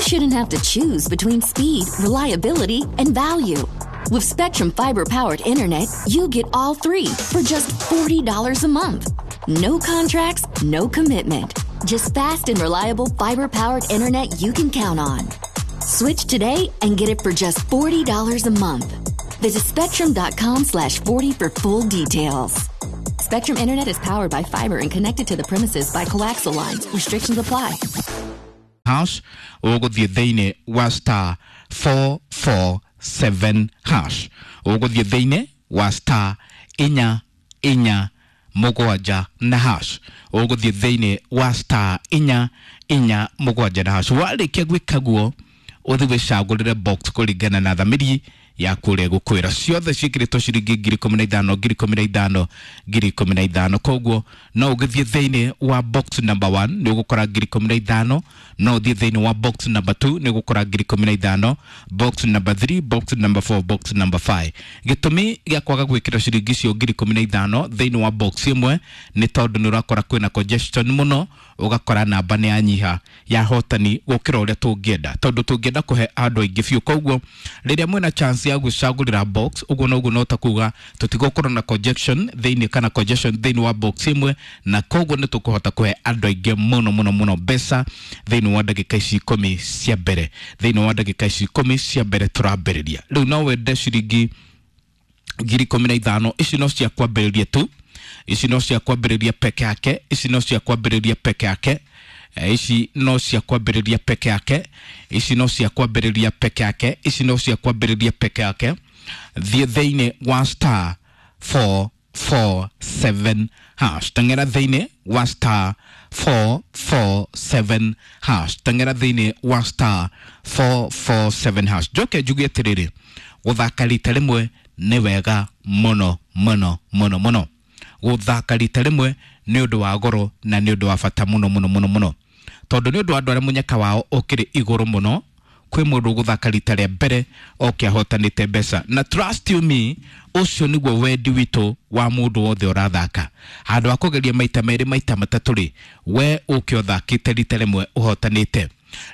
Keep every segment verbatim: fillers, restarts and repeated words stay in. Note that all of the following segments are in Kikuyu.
shouldn't have to choose between speed, reliability, and value. With Spectrum Fiber-powered internet, you get all three for just forty dollars a month. No contracts, no commitment. Just fast and reliable fiber-powered internet you can count on. Switch today and get it for just forty dollars a month. Visit spectrum dot com slash forty for full details. Spectrum Internet is powered by fiber and connected to the premises by coaxial lines. Restrictions apply. Hash ũgũthiĩ thĩinĩ wa star four four seven hash, ũgũthiĩ thĩinĩ wa star inya inya mũgwanja na hash, ũgũthiĩ thĩinĩ wa star inya inya mũgwanja na hash. Warĩkia gwĩka guo, ũthiĩ wĩcagũrĩre box kũringana na thamiri yaku ũrĩa ĩgũkwĩra. Ciothe ciĩkĩrĩtwo ciringi ngiri ikũmi na ithano, ngiri ikũmi na ithano, ngiri ikũmi na ithano. Koguo no ũgĩthiĩ thĩinĩ wa box number one, nĩ ũgũkora ngiri ikũmi na ithano. No ũthiĩ thĩinĩ wa box number two, nĩ ũgũkora ngiri ikũmi na ithano, box number three, box number four, box number five. Gĩtũmi gĩa kwaga gwĩkĩra ciringi icio ngiri ikũmi na ithano thĩinĩ wa box ĩmwe nĩ tondũ nĩ ũrakora kwĩna congestion mũno, ũgakora namba nĩ yanyiha ya hotani gũkĩra ũrĩa tũngĩenda, tondũ tũngĩenda kũhe andũ aingĩ biũ. Koguo rĩrĩa mwĩna chance ya gwĩcagũrĩra box, ũguo noguo no ta kuga tũtigũkorwo na congestion thĩinĩ kana congestion thĩinĩ wa box ĩmwe, na koguo nĩ tũkũhota kũhe andũ aingĩ mũno mũno mũno mbeca thĩinĩ wa ndagĩka ici ikũmi cia mbere, thĩinĩ wa ndagĩka ici ikũmi cia mbere tũrambĩrĩria rĩu. No wende ciringi ngiri ikũmi na ithano, ici no cia kwambĩrĩria tu, ici no cia kwambĩrĩria peke yake, ici no cia kwambĩrĩria peke yake. Eh, ici no cia kwambĩrĩria peke yake, ici no cia kwambĩrĩria peke yake, ici no cia kwambĩrĩria peke yake. Thiĩ thĩinĩ wa star four four seven hash, teng'era thĩinĩ wa star four four seven hash, teng'era thĩinĩ wa star four four seven hash. Njoke njuge atĩrĩrĩ, gũthaka rita rĩmwe nĩ wega mũno mũno mũno mũno. Gũthaka rita rĩmwe nĩ ũndũ wa goro na nĩ ũndũ wa bata mũno mũno mũno mũno, tondũ nĩ ũndũ wa andũ arĩa mũnyaka wao ũkĩrĩ igũrũ mũno. Kwĩ mũndũ ũgũthaka rita rĩa mbere oke ahotanĩte mbeca, na trust you me, ũcio nĩguo wendi witũ wa mũndũ wothe ũrathaka. Handũ ha kũgeria maita merĩ, maita matatũ rĩ, we ũke ũthakĩte rita rĩmwe ũhotanĩte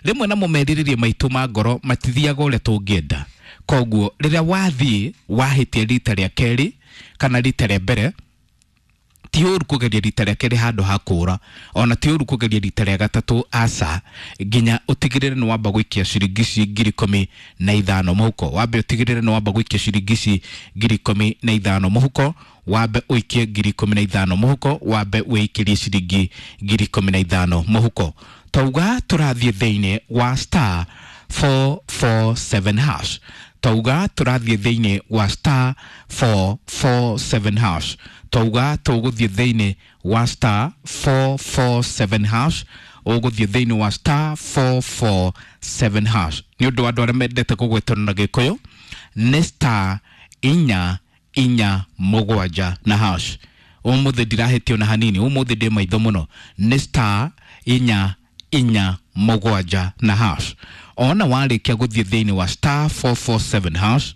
rĩmwe. Namo merirĩria maitũ ma ngoro matithiaga ũrĩa tũngĩenda. Koguo rĩrĩa wathiĩ wahĩtia rita rĩa kerĩ kana rita rĩa mbere, ti ũru kũgeria rita rĩa kerĩ handũ ha kũra, ona ti ũru kũgeria rita rĩa gatatũ, aca, nginya ũtigĩrĩre nĩ wamba gũikia ciringi ici ngiri ikũmi na ithano mũhuko. Wambe ũtigĩrĩre nĩ wamba gũikia ciringi ici ngiri ikũmi na ithano mũhuko, wambe ũikie ngiri ikũmi na ithano mũhuko, wambe wĩikĩrie ciringi ngiri ikũmi na ithano mũhuko. Tauga tũrathiĩ thĩinĩ wa star four four seven hash, tauga tũrathiĩ thĩinĩ wa star four four seven hash, tauga tũgũthiĩ thĩinĩ wa star four four seven hash, ũgũthiĩ thĩinĩ wa star four four seven hash. Nĩ ũndũ wa andũ arĩa mendete kũgwetwo na Gĩkũyũ, nĩ star inya inya mũgwanja na hash. Ũmũthĩ ndirahĩtio na hanini, ũmũthĩ ndĩ maitho mũno. Nĩ star inya inya mũgwanja na hash. Ona warĩkia gũthiĩ thĩinĩ wa star four four seven hash,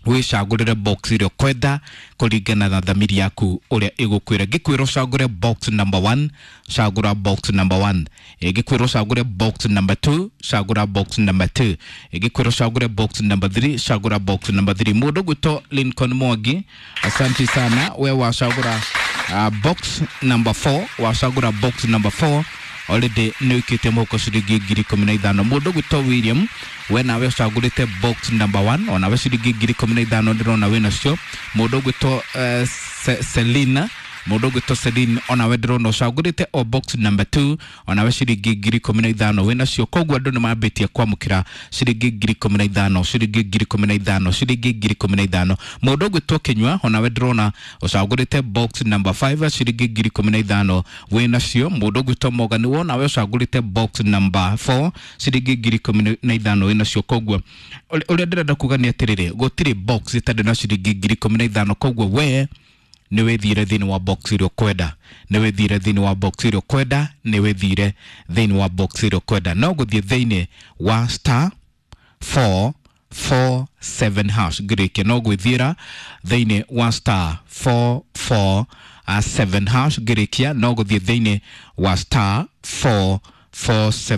wĩcagũrĩre box ĩrĩa ũkwenda kũringana na thamiri yaku ũrĩa ĩgũkwĩra. Ngĩkwĩra ũcagũre box number one, cagũra box number one. Ĩngĩkwĩra ũcagũre box number two, cagũra box number two. Ĩngĩkwĩra ũcagũre box number three, cagũra box number three. Mũndũ gwĩtwo Lincoln Mwangi, asante sana. We wacagũra uh, box number four, wacagũra box number four, already nĩ ũikĩtie mũhuko ciringi ngiri ikũmi na ithano. Mũndũ gwĩtwo William, we nawe ũcagũrĩte box number one, onawe ciringi ngiri ikũmi na ithano ndĩrona wĩ nacio. Mũndũ gwĩtwo uh, Ce Selina, mũndũ ũgwĩtwo Celine, onawe ndĩrona ũcagũrĩte o box number two, onawe ciringi ngiri ikũmi na ithano wĩ nacio. Koguo andũ nĩ mambĩtie kwamũkĩra ciringi ngiri ikũmi na ithano, ciringi ngiri ikũmi na ithano, ciringi ngiri ikũmi na ithano. Mũndũ ũgwĩtwo Kĩnyua, onawe ndĩrona ũcagũrĩte box number five, ciringi ngiri ikũmi na ithano wĩ nacio. Mũndũ ũgwĩtwo Morgan, wonawe ũcagũrĩte box number four, ciringi ngiri ikũmi na ithano wĩ nacio. Koguo ũrĩa ndĩrenda kuga nĩ atĩrĩrĩ, gũtirĩ box ĩtarĩ na ciringi ngiri ikũmi na ithano. Koguo we nĩ wĩthire thĩinĩ wa box ĩrĩa ũkwenda, nĩ wĩthire thĩinĩ wa box ĩrĩa ũkwenda, nĩ wĩthire thĩinĩ wa box ĩrĩa ũkwenda. No gũthiĩ thĩinĩ wa star four four seven hash. Ngĩrĩkia, no gwĩthiĩra thĩinĩ wa star four four seven hash. Ngĩrĩkia, no gũthiĩ thĩinĩ wa star four four seven.